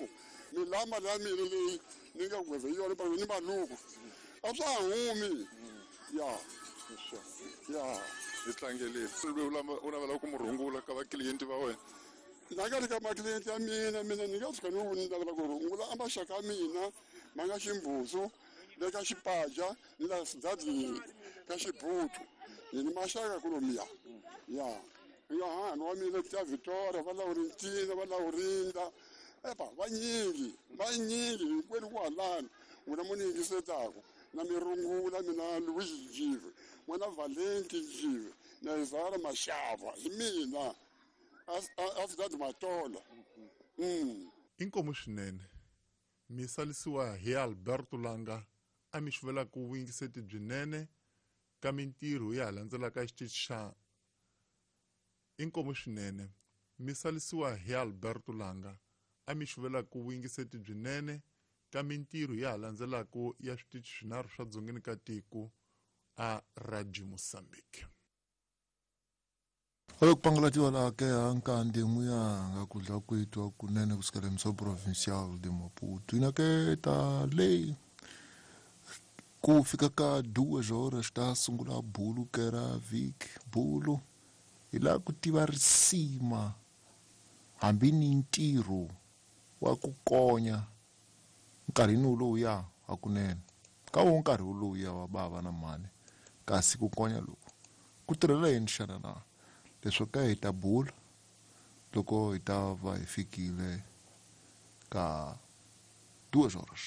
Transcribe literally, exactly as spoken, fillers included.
maluku ni la mali ya mina leyi ni nga gweve hi yona ni maluku a swa ha humi ya ya hi tlangelile u navela ku mu rhungula ka vakliyenti va wena na nga ri ka makliyenti ya mina mina ni nga tshuka ni ni navela ku rhungula a maxaka ya mina ma nga ximbuzu le ka xipaja ni la sidadini ka xibutu ni ni maxaka kulomiya ya ya hahani wa mina ta Victoria va Laurentina va Laurinda epa vanyingi vanyingi hinkwenu ku halani n'wina mo ni yingisetaku na mi rungula mina Louis Njive n'wana Valenti Njive na Izara Mashava hi mina Afdad Matola. Mm. Inkomu swinene mi salisiwa hi Alberto Langa a mi xivela ku vuyingiseti byinene ka mintirho ya landzelaka xitichi xa inkomu swinene mi salisiwa hi Alberto Langa a mi xivela ku vuyingiseti byinene ka mintirho ya landzelaka ya switichi swinharhu swa dzongeni ka tiko a Radio Mozambique. Alo kupangulatiwa la ke ankande muyanga kudla kwethu kunene kusukela emso provincial de Maputo ina ke ta lei ku fika ka duas horas ta sungula bulu ke ra vik bulu ila ku tiva risima hambi ni ntirho wa ku konya nkarhini lowuya hakunene ka wo nkarhi lowuya wa bava na mhani kasi ku konya loku ku tirhela yini xana na leswo ka hi ta bula loko hi ta va hi fikile ka duas horas.